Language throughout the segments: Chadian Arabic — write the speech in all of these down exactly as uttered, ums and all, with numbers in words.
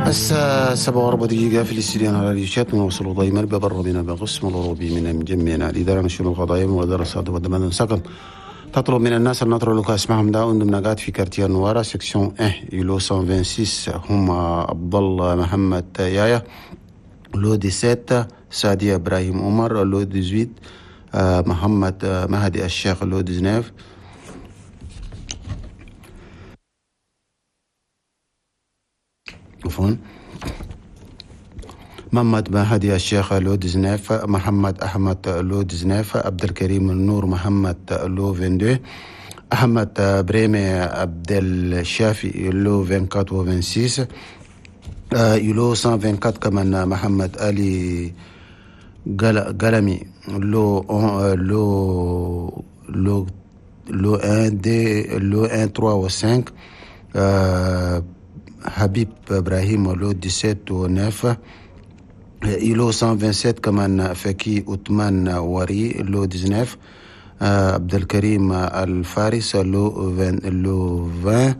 الساعة سبعة وربع دقيقة في الاستديو على راديو ونوصل دائما ببرنامجنا بقسم الأوروبي من مجمعنا الإدارة نشر القضايا ودراسات ودمان سكن تطلب من الناس أن نترك اسمهم دا عندهم نقاط في quartier نوارا section واحد îlot مية وستة وعشرين هم عبد الله محمد يايا lot سبعة سعدية إبراهيم عمر lot ثمانية عشر محمد مهدي الشيخ lot تسعة عفوا محمد مهدي الشيخ lot تسعة محمد أحمد lot تسعة عبد الكريم النور محمد lot اثنين وعشرين أحمد بريمي عبد الشافي lot أربعة وعشرين و ستة وعشرين îlot مية وأربعة وعشرين كمان محمد علي قلمي lot lot lot lot واحد deux lot واحد ثلاثة و خمسة حبيب إبراهيم lot سبعة و تسعة îlot مية وسبعة وعشرين كمان فكي عثمان وري lot تسعة عبد الكريم الفارس lot عشرين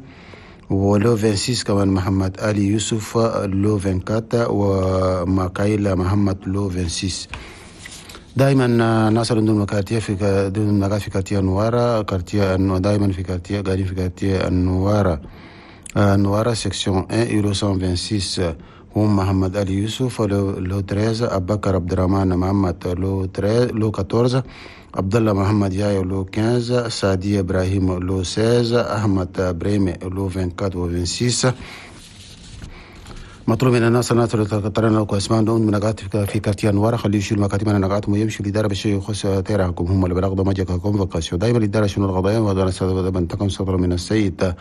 و lot ستة وعشرين كمان محمد علي يوسف lot أربعة وعشرين وماكايلا محمد lot ستة وعشرين. دائما ناس عندهم quartier في دون نقاط في quartier نوارا quartier دائما في quartier قاعدين في quartier نوارا نوارا section واحد îlot مية وستة وعشرين هم محمد علي يوسف lot ثلاثة عشر أبو بكر عبد الرحمن محمد lot lot أربعة عشر عبد الله محمد يايو lot خمسة عشر سعدي إبراهيم lot ستة عشر أحمد بريمي lot أربعة وعشرين و ستة وعشرين. مطلوب من الناس الناس اللي ترى لكم اسماء دون من نقاط في quartier نوارا خليه يشيل مكاتب انا نقاط ويمشي الادارة بالشيء يخص تيرحكم هم اللي بلغوا ما جاكم convocation دائما الادارة شنو القضايا وهذا تقم صدر من السيد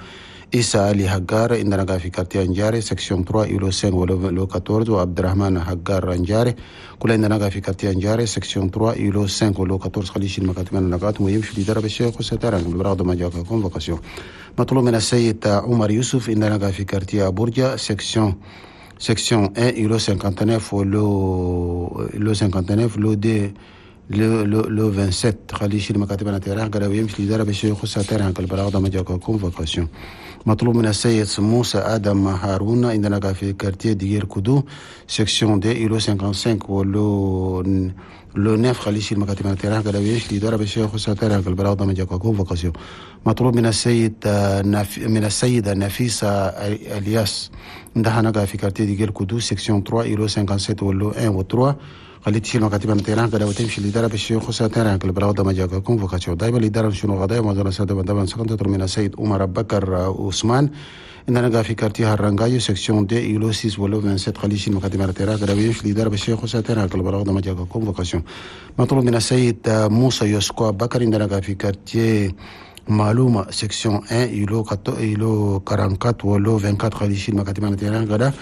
إيسا علي حقار عندنا في quartier انجاري section ثلاثة îlot خمسة و lot أربعة عشر وعبد الرحمن حقار انجاري كل عندنا في quartier انجاري section ثلاثة îlot خمسة و lot أربعة عشر خليه يشيل مكاتب انا نقاط ويمشي الادارة بالشيء يخص تيرحكم اللي بلغوا ما جاكم convocation. مطلوب من السيد عمر يوسف عندنا في quartier برجة section section واحد îlot تسعة وخمسين و lot lot خمسة وخمسين lot deux lot lot lot سبعة وعشرين خليه يشيل مكاتب انا تيران قالوا يمشي الادارة بالشيء يخص تيران البلاغ ده ما جاكم convocation. مطلوب من السيد موسى ادم هارون عندنا في quartier دير كودو section deux îlot خمسة وخمسين و lot lot تسعة خليه يشيل مكاتب انا تيران قالوا يمشي الادارة بالشيء يخص تيران البلاغ ده ما جاكم convocation. مطلوب من السيد من السيدة نفيسة الياس عندها في quartier دير كودو section ثلاثة îlot سبعة وخمسين و lot واحد و ثلاثة خلي تشيل مكاتب التيران كده وتمشي الإدارة بالشيء خصوصا تيران كل بلاغ ما جاك convocation. دائما الإدارة شنو غدايا ما سادة دائما سكنت تطلب من السيد عمر بكر عثمان عندنا في quartier هرنجايو section deux îlot ستة و lot سبعة وعشرين خلي يشيل مكاتب التيران كده ويمشي الإدارة بالشيء خصوصا تيران كل بلاغ ما جاك convocation. مطلوب من السيد موسى يوسكو بكر عندنا في quartier معلومة section واحد îlot îlot أربعة وأربعين و lot أربعة وعشرين خلي يشيل مكاتب التيران كده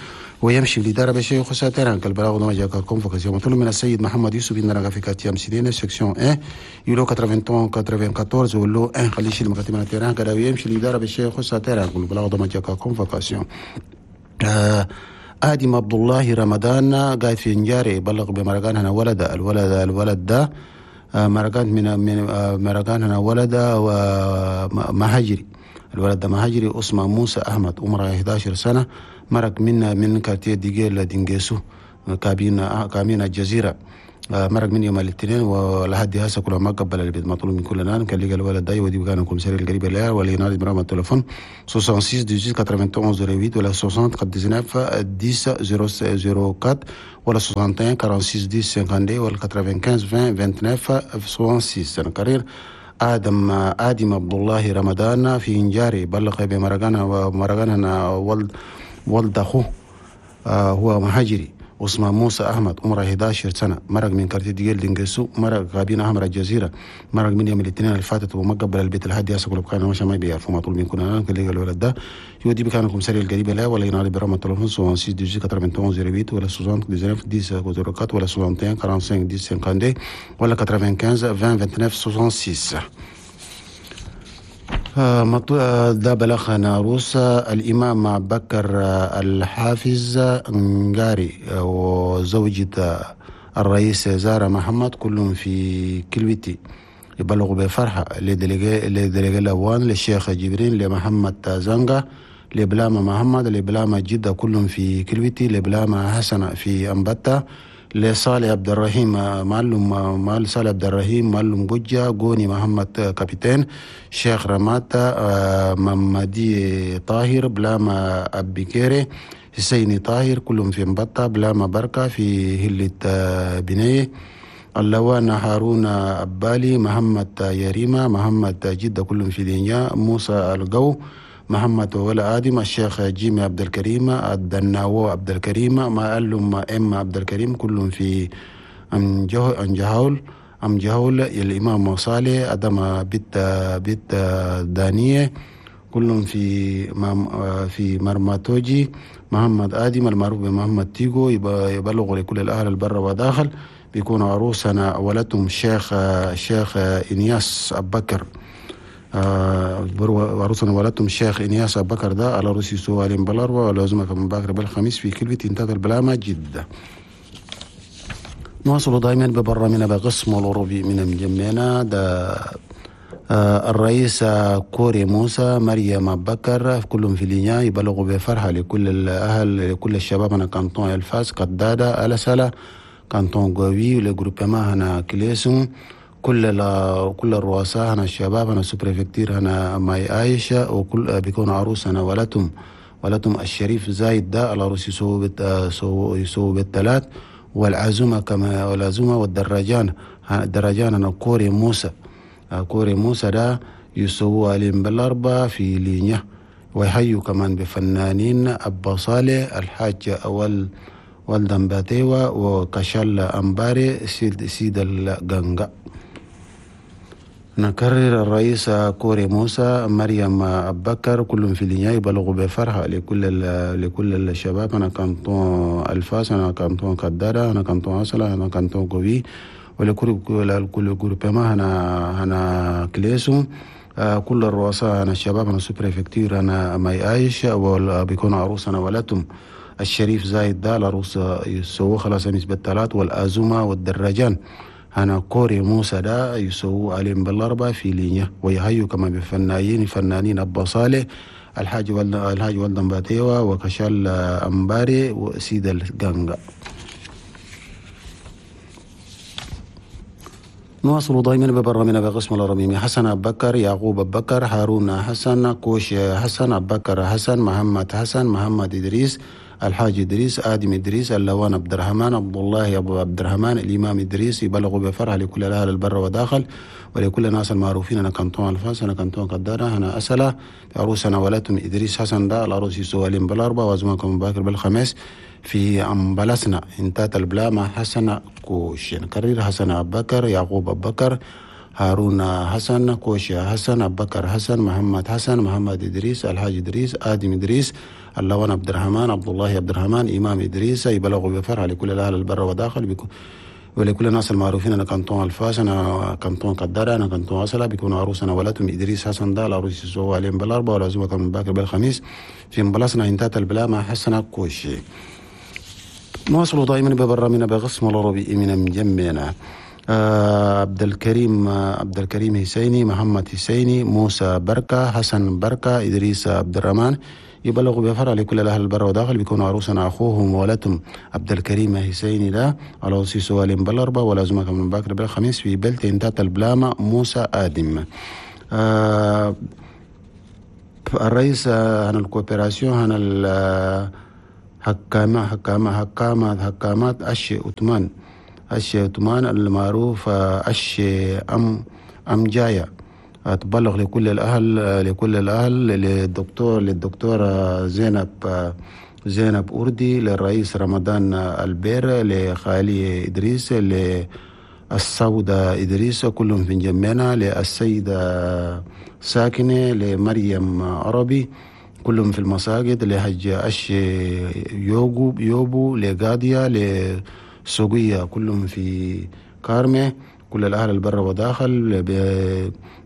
ويمشي الإدارة بشيء يخص تيران البلاغ ما جاك convocation. مطلوب من السيد محمد يوسف عندنا في quartier مسيدين section واحد îlot ثمانية وثمانين أربعة وثمانين و lot واحد خلي يشيل مكاتب التيران كده ويمشي الإدارة بشيء يخص تيران البلاغ ما جاك convocation. آه آدم عبد الله رمضان قاعد في انجاري بلغ بمرقان هنا ولد الولد الولد ده مرقان من من مرقان هنا ولد ومهاجري الولد ده مهاجري اسمه موسى احمد عمره إحدى عشرة سنة مرق من من quartier ديجيل دينجيسو كابين كامين الجزيرة مرق من يوم الاثنين ولحد هسه كل ما قبل البيت. مطلوب من كل نان كان لقى الولد ده ودي كان commissaire القريب له ولا ينادي برقم التليفون ستة وستين ثمانية عشر واحد صفر ثمانية ولا ستين تسعة عشر عشرة صفر أربعة ولا واحد وستين ستة وأربعين عشرة اثنين وخمسين ولا خمسة وتسعين عشرين تسعة وعشرين ستة وستين. نكرر آدم آدم عبد الله رمضان في إنجاري بلغ بمرقان ومرقان ولد ولد أخوه آه هو مهاجري اسمه موسى أحمد عمره إحدى عشرة سنة مرق من quartier ديال دينجسو مرق غابين أحمر الجزيرة مرق من يوم الاثنين اللي فاتت وما قبل البيت الهادي يسقل بكان مش ما بيعرفوا مطلوب من كنا كان لقى الولد ده يودي بكان commissaire القريب له ولا ينادي برقم التليفون ستة وستين ثمانية وثمانين صفر ثمانية ولا تسعة وتسعين عشرة صفر أربعة ولا واحد وستين خمسة وأربعين عشرة خمسة وخمسين ولا خمسة وتسعين عشرين تسعة وعشرين ستة وستين. ده بلغ ناروس الإمام بكر الحافظ نجاري وزوجة الرئيس زارة محمد كلهم في كلوتي يبلغوا بفرحة ل délégué ل délégué الأوان للشيخ جبرين لمحمد زنغا لبلامة محمد، لبلامة جدة كلهم في كلوتي، لبلامة حسن في أمبتا، لصالح عبد الرحيم معلم مال صالح عبد الرحيم معلم بجة، جوني محمد كابتن، شيخ رماتا، ممدي طاهر، بلامة أبيكيري، حسيني طاهر كلهم في مبطة، بلامة بركة في هلة بنية، اللوان هارون أبالي، محمد يريمة، محمد جدة كلهم في دنيا، موسى القو، محمد ولا آدم، الشيخ جيمي عبد الكريم، الدناو عبد الكريم، معلم ام عبد الكريم كلهم في أم جهول أم جهول، الإمام صالح أدم بيت بيت دانية كلهم في في مرماتوجي، محمد آدم المعروف بمحمد تيجو يبلغ لكل الأهل البر وداخل، بيكون عروسنا ولدهم الشيخ الشيخ إنياس أبو بكر، عروسنا ولدتهم الشيخ إنياس أبو بكر ده على روسي سوالين بالأربعة ولازمك من باكر بالخميس في كلمة انتهت البلامة جدة. نواصل دائما ببرنامجنا بقسم الأوروبي من مجمعنا ده. الرئيس كوري موسى، مريم بكر كلهم في لينيا يبلغوا بفرحة لكل الأهل لكل الشباب هنا canton الفاس قدادة ألسلة canton قوي le groupement هنا كليسون، كل كل الرؤساء هنا الشباب هنا sous-préfecture هنا ماي عايشة، وكل بيكون عروس هنا ولتم ولتم الشريف زايد ده العروس يسووا يسووا بالثلاث، والعزومة كما والعزومة والدراجان الدراجان هنا كوري موسى كوري موسى ده يسووا عليهم بالأربعة في لينيا، ويحيوا كمان بفنانين أبا صالح الحاج أول والدن باتيوا وكشال أمباري سيد, سيد الغنغا. نكرر الرئيس كوري موسى، مريم أبكر كلهم في لينيا يبلغوا بفرحة لكل لكل الشباب أنا canton الفاس، أنا canton كدارة، أنا canton أصلا، أنا canton قوي، ولكل كل groupement هنا هنا كليسو، كل الرؤساء أنا الشباب أنا sous-préfecture أنا ماي عايش، وبيكون عروسنا ولتم الشريف زايد ده العروس يسووا خلاص أمس بالثلاث، والأزومة والدراجان هنا كوري موسى ده يسووا عليهم بالأربعة في لينيا، ويهيوا كما بفنانين فنانين أبا صالح الحاج ولد الحاج ولدن باتيوا وكشال أمباري وسيد الغنغا. نواصل دائما ببرنامجنا بقسم الأرميمي. حسن أبو بكر، يعقوب أبو بكر، هارون حسن، كوش حسن، أبو بكر حسن، محمد حسن، محمد إدريس، الحاج إدريس، آدم إدريس، اللوان عبد الرحمن، عبد الله أبو عبد الرحمن، الإمام إدريس يبلغوا بفرح لكل الأهل البر وداخل ولكل الناس المعروفين أنا canton الفاس، أنا canton قدارة، أنا أسلة عروسنا ولتم إدريس حسن ده العروس يسوالين بالأربعة وأزمانكم باكر بالخميس في أمبلسنا انتات البلامة حسن كوش. نكرر حسن أبو بكر، يعقوب أبو بكر، هارون حسن، كوش حسن، أبو بكر حسن، محمد حسن، محمد إدريس، الحاج إدريس، آدم إدريس، اللوان عبد الرحمن، عبد الله عبد الرحمن، إمام إدريس يبلغوا بفرح لكل الأهل البر وداخل ولكل الناس المعروفين أنا canton الفاس، أنا canton قدارة، أنا canton أصلا، بيكون عروسنا ولتم إدريس حسن ده العروس يسووا عليهم بالأربعة والعزومة من باكر بالخميس في مبلسنا انتات البلامة حسن كوشي. نواصل دائما ببرنامجنا بقسم العربي من مجمعنا. آه عبد الكريم عبد الكريم حسيني، محمد حسيني، موسى بركة، حسن بركة، إدريس عبد الرحمن يبلغوا بفرع لكل الأهل البر وداخل، بيكون عروسنا أخوهم ولتم عبد الكريم حسيني ده على وصي سوالين بالأربعة ولازمك من باكر بالخميس في بلت انتات البلامة موسى آدم. آه الرئيس هنا ال coopération هنا حكامة حكامة حكامة حكامات أشي أتمان أشي أتمان المعروف أشي أم أم جاية تبلغ لكل الأهل لكل الأهل للدكتور للدكتورة زينب زينب أوردي، للرئيس رمضان البير، لخالي إدريس، للسودة إدريس كلهم في جمعنا، للسيدة ساكنة، لمريم عربي كلهم في المساجد، لحج أش يوغو يوبو، لقادية، لسوقية كلهم في كارمة، كل الأهل البر وداخل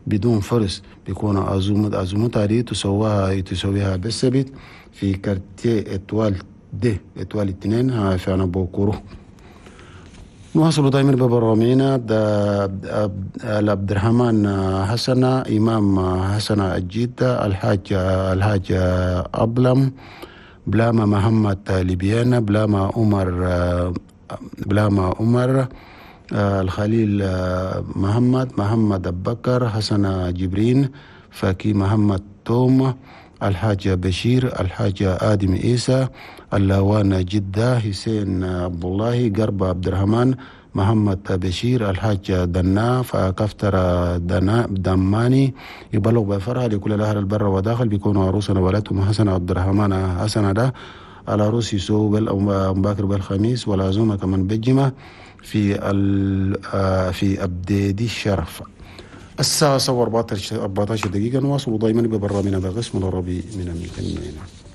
بدون فرس بيكون عزومة عزومة دي تسويها تسويها بالسبت في quartier Étoile deux Étoile اثنين في أنا بوكورو. نواصل دائما ببرامجنا. عبد الرحمن حسن، إمام حسن الجدة، الحاج الحاج أبلم، بلاما محمد ليبيانا، بلاما عمر، بلاما عمر الخليل محمد، محمد أبكر، حسن جبرين، فكي محمد توم، الحاج بشير، الحاج آدم عيسى، اللوان جدة، حسين عبد الله، قرب عبد الرحمن، محمد بشير، الحاج دنا، فكفتر دنا دماني. يبلغ بفرح لكل الأهل البر وداخل بيكونوا عروسنا ولدهم حسن عبد الرحمن حسن ده على روسي سو بل باكر بالخميس، والعزومة كمان بالجمعة في ال في أبديدي الشرف. الساعة أربعة عشر دقيقة. نواصل دائما ببرنامجنا بالقسم العربي من المكان.